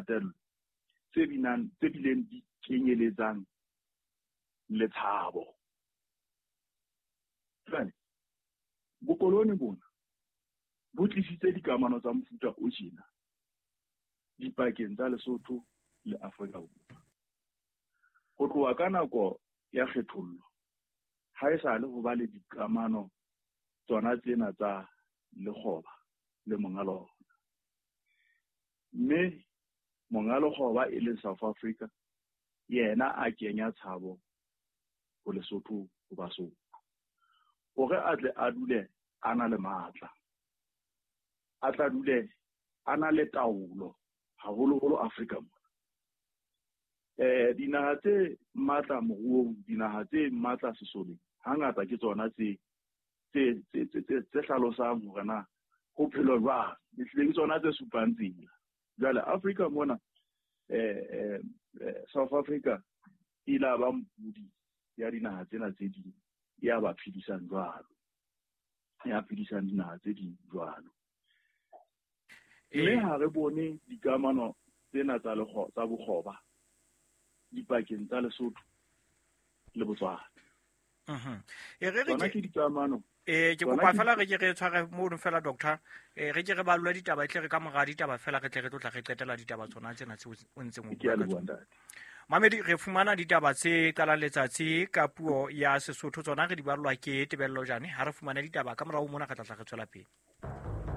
kgatello tse binang tse bileng di kenyeletsang le tshabo. Jwale bokolone bona bo tlisitse dikamano tsa mofuta o tjena dipakeng tsa Lesotho le Afrika Borwa. Ho tloha ka nako ya kgethollo ha e sa le ho ba le dikamano tsona tsena tsa lekgoba le monga lona. Mme monga lekgoba e leng South Africa yena a kenya tshabo ho Lesotho ho Basotho hore a tle a dule a na le matla, a tla dule a na le taolo haholoholo Afrika mona. Dinaha tse matla moruong, dinaha tse matla sesoleng, hangata ke tsona tse tse tse tse tse hlalosang hore na ho phelo jwang, ehlile ke tsona tse supang tsela. Jwale Afrika mona South Africa e ile ba mpudi ya dinaha tsena tse ding, ya ba phedisang jwalo, ya phedisang dinaha tse ding jwalo. Mme ha re bone dikamano tsena tsa tsa bokgoba dipakeng tsa Lesotho le Botswana. E re re Tsona ke dikamano. Ke kopa fela re ke re tshware mono fela, doctor. Re ke re balula ditaba, e tle re ka mora ditaba fela re tle re tlotla re qetela ditaba tsona tsena tse o ntseng o Ke a bua ka leboha, tsona. ntate. Mamedi, re fumana ditaba tse qalang letsatsi ka puo ya Sesotho, tsona re di ballwa ke Tebello Jane. Ha re fumana ditaba ka morao mona re tla tla re tswela pele.